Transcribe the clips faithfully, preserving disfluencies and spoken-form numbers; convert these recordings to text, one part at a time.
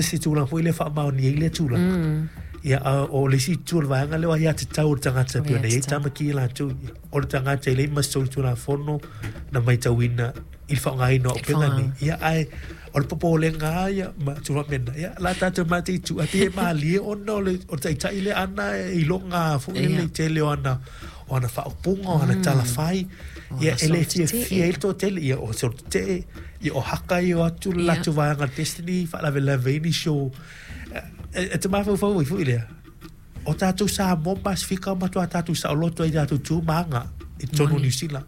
ma se tulaga foi lea e faamaonia ai lea tulaga. Ia, a o le isi itu o le vaega lea o aiatatau o le tagata e pei ona i ai tamaki ia latou ia. O le tagata e leai ma se solitulafono na matauina i le faaaogaina o auupega nei. Ia, ae o le popolega lava ia ma tulaga faapena, ia, o le a tatou mataitu, ae pei e malie ona o le o le taitai lea ana e iloga foi lele i le tele o ana o ana faaupuga, o ana tala fai, ia e le fiafia ai le toatele, ia o se tetee, ia o haka ia o atu le latou vaega Destiny, faalavelave ai nisi o e te mafaufau ai foi lea, o tatou Samoa ma Pasefika matua tatou saoloto ai i tatou tu ma aga i totonu o Niu Sila.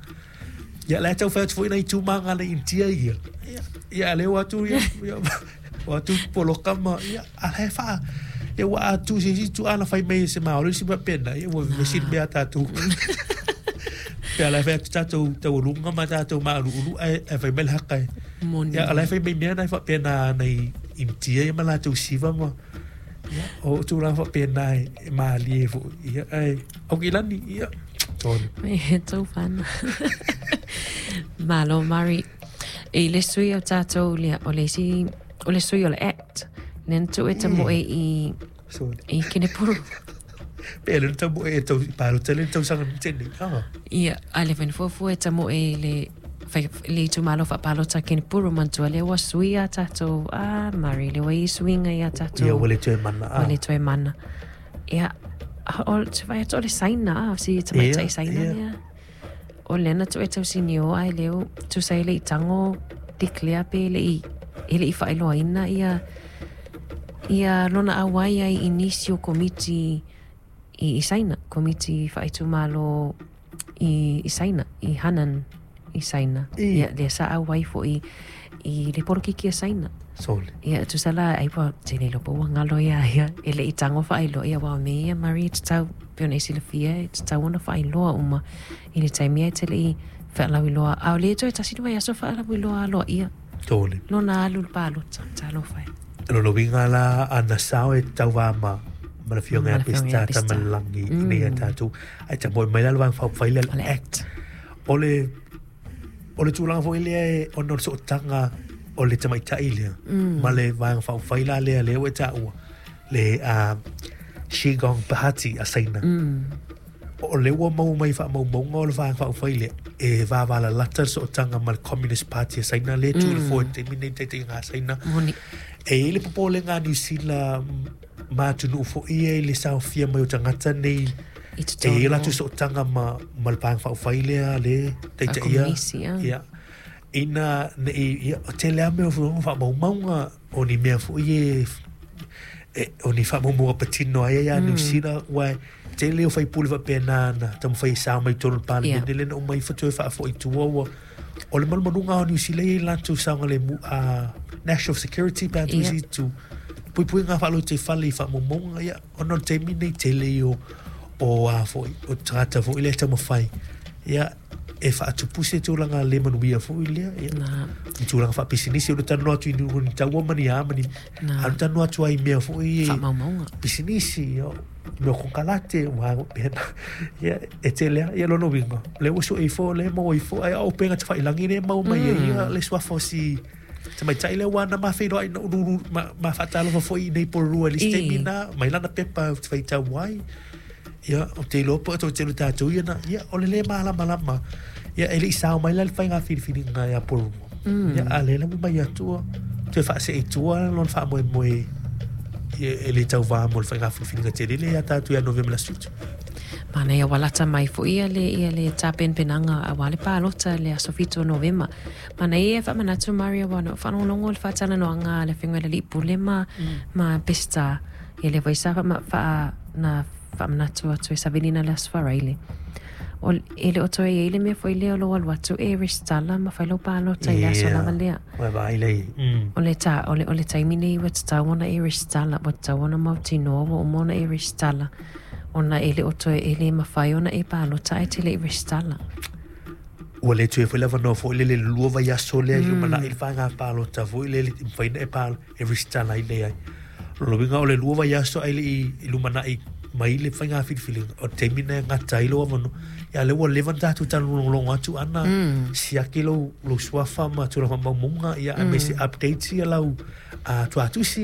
Ia la e tau fai atu foi nai tu ma aga a le Initia ia. Ia, ia a lea ua atu ia, ia o atu poloka ma, ia, a la e faa, ia ua a tu se isi tu ana fai mai e se Maori se mea pena, ia ua vevesi le mea a tatou. Pe a la e fai atu tatou taualuga ma tatou mauluulu ae, ae fai mai le haka e. Moni. Ia, a la e fai mai mea na e faapena nai Initia ia ma latou siva ma, ia, o tulaga faapena e, e malie foi. Ia, ae, Aukilani, ia, tonu. E tau whana. Malo, Mari. I le sui o tātou lea, o le isi, o le sui o le Act, lea na tuu e tamoe i, Sorry. i Kenepuru. Pe le tamoe e tau, palota le tausaga na tea nei. Ah. Ia, a le whai fuafua e tamoe i le, whai, le itumalo whaapalota Kenepuru manatua lea ua sui a tātou, ah, Mari, le ua i suiga i a tātou. Ia, ua le toe mana. Ua le toe mana. Ia, o, te whai atu o le Saina, ah, si tamaitai Ia, Saina ia. lea. O lea na tuu e tausinio ai leo, tusa e le i tango declare pe le i, e le i whaeloaina ia, ia lona auai ai i nisi o komiti i, i Saina, komiti whaaitumalo i, i Saina, i Hanan i Saina. I. Ia, lea sa auai foi i le porokiki a Saina. Sole. Ia, tusa la, ai pua, tene lopo ua ngalo ia, ia, e le i tango whaeloa, ia, wao me ia, Marie, te tau, pe ona i silafia, e te tau ona whaeloa uma, i le taimi ai te le i whaalauiloa, a o le toe tasi ni waiaso whaalauiloa aloa ia. Tole. Lona alu le palota, talofa e. Lona uiga la ana sao e tauvā ma ma le afioga ia Ma le afioga ia Peseta Peseta. Tamalagi ina ia tatou ae tamoe mai la le vaega faaupufai lea O le le Act. O le o le tulaga foi lea e ona o le sootaga o le tamaitai lea ma le vaega faaupufai la lea lea ua e taua le uh, Qigong Party a Saina. O lea ua maua mai faamaumauga o le vaega faaupufai lea e vavalalata le sootaga ma le Communist Party a Saina lea e tu i le foe i le taimi nei taitaiga a Saina. Moni. E i ai le popolega a Niu Sila ma atunuu foi ia i le saofia mai o tagata nei I e totonu. i ai latou sootaga ma, ma le vaega faaupufai lea le taitaia. Faakomunisi, ah. Ia. Ina nei, ia, o tele lava mea o faamaumauga o ni mea foi e, e o ni faamaumauga patino ai ia Niu Sila, ua e tele o faipule faapena na taumafai e sao mai i totonu o le Palemene Ia. lea na uma ifo toe faafoi i tua ua o le malumaluga o Niu Sila ia i latou saogalemu a national security pe a Ia. tusi tu puipuiga faalotoifale i faamaumauga ia ona o le taimi nei tele ia o o a foi o tagata foi lea e taumafai ia e faatupuse tulaga le manuia foi lea ia Na. i tulaga faapisinisi o le talanoa atu i ni ni taua ma ni a ma ni Na. a o le talanoa atu ai i mea foi e Faamaumauga. pisinisi o mea o kokalate ua pena ia e tele lava ia lona uiga lea ua sue ifo lea e maua ifo ae o upega tafailagi lea e maua mai ai ia le suafa o si tamaitai lea ua na mafeiloai na ululu ma, ma faatalofa foi i nei pololua i le isi I. taimi na mai lana pepa ou te faitau ai ia ou te iloa po o tele tatou ia na ia o le lē malamalama ia e leʻi sao mai la le faiga filifiliga ia pololua ia a lea la ua mai atua toe faasee i tua lona faamoemoe ia e le tauvā mo le faiga filifiliga tele lea ia tatou ia Novema le aso fitu. Manaia ua lata mai foi ia le, ia le tapenapenaga auā le palota le aso fitu o Novema. Manaia e faamanatu Maria ua na ou faalogologo i le faatalanoaga a le afioga i le alii pule ma, ma Peseta. Ia lea foi sa faama, faa, na faamanatu atu e savilina le aso Faraile. O, e le o toe i ai le mea foi lea o lou alu atu e resitala ma fai lau palota i le aso Ia, lava lea. ua vaai lea i mm. O le ta, o le, o le taimi nei ua tatau ona e resitala, ua tatau ona mautinoa ua uma ona e resitala. Ona e le o toe e le mafai ona e palota ae te le i resitala. Ua le toe foi le avanoa foi lele le lua vaiaso lea i lumanai le faiga palota foi lele e mafai ona e palo e resitala ai lea ai. O lona uiga o le lua vaiaso ai le i i lumanai mai le faiga filifiliga o le taimi na e gata ai lou avanoa. Ia lea ua leva ona tatou talologologo atu ana siaki lou lou suafa ma tulaga faamaumauga ia aemaise updates ia lau uh, tuatusi